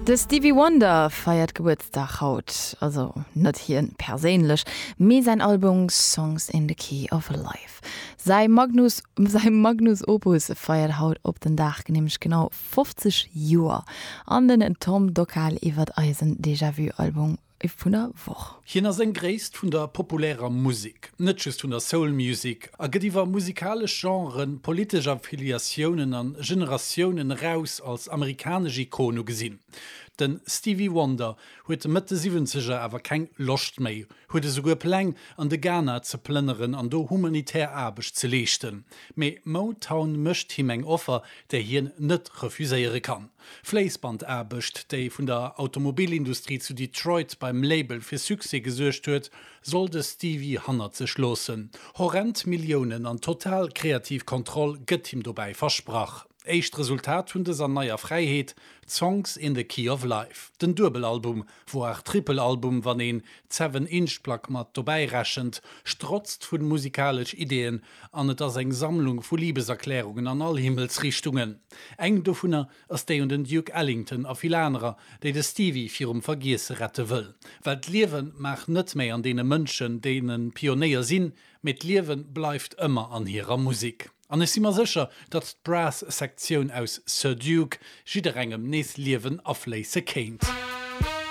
De Stevie Wonder feiert Gebuertsdag haut. Also net hien perséinlech, mee säin Album Songs in the Key of Life. Säi Magnus säi Magnus Opus feiert haut op den Dag nämlech genau 50 Joer. An den Tom Dockal iwwert eisen Déjà-Vu Album vun der Woch. Hien ass eng Gréisst vun der populärer Musek, net just vun der Soul Music, a gëtt iwwer musikalesch Genren, politesch Affiliatiounen an Generatiounen eraus als amerikanesch Ikon ugesinn. De Stevie Wonder huet Mëtt de Siwwenzeger awer keng Loscht méi, huet esouguer Pläng, an de Ghana ze plënneren an do humanitär Aarbecht ze leeschten. Mee Motown mécht him eng Offer, déi hien net refuséiere kann. Fléissbandaarbecht, déi vun der Automobilindustrie zu Detroit beim Label fir Succès gesuergt huet, soll de Stevie hannert sech loossen. Horrend Milliounen an total kreativ Kontroll gëtt him dobäi versprach. Éischt Resultat vun dëser neier Fräiheet, Songs in the Key of Life, den Duebelalbum, voire Trippelalbum, wann een d'Seven-Inch-Plack mat dobäi rechent, strotzt vu musikalesch Ideeën an et ass eng Sammlung vu Libeserklärungen an all Himmelsrichtungen. Eng dovunner ass déi un den Duke Ellington a vill anerer, déi de Stevie virum Vergiesse rette wëll. Well d'Liewe mag net méi an deene Mënschen, deene Pionéier sinn, mee d'Liewe bleift ëmmer an hirer Musek. An ech si mer sécher, datt d'Brass-Sektioun aus Sir Duke jidderengem nees Liewen afléisse kéint.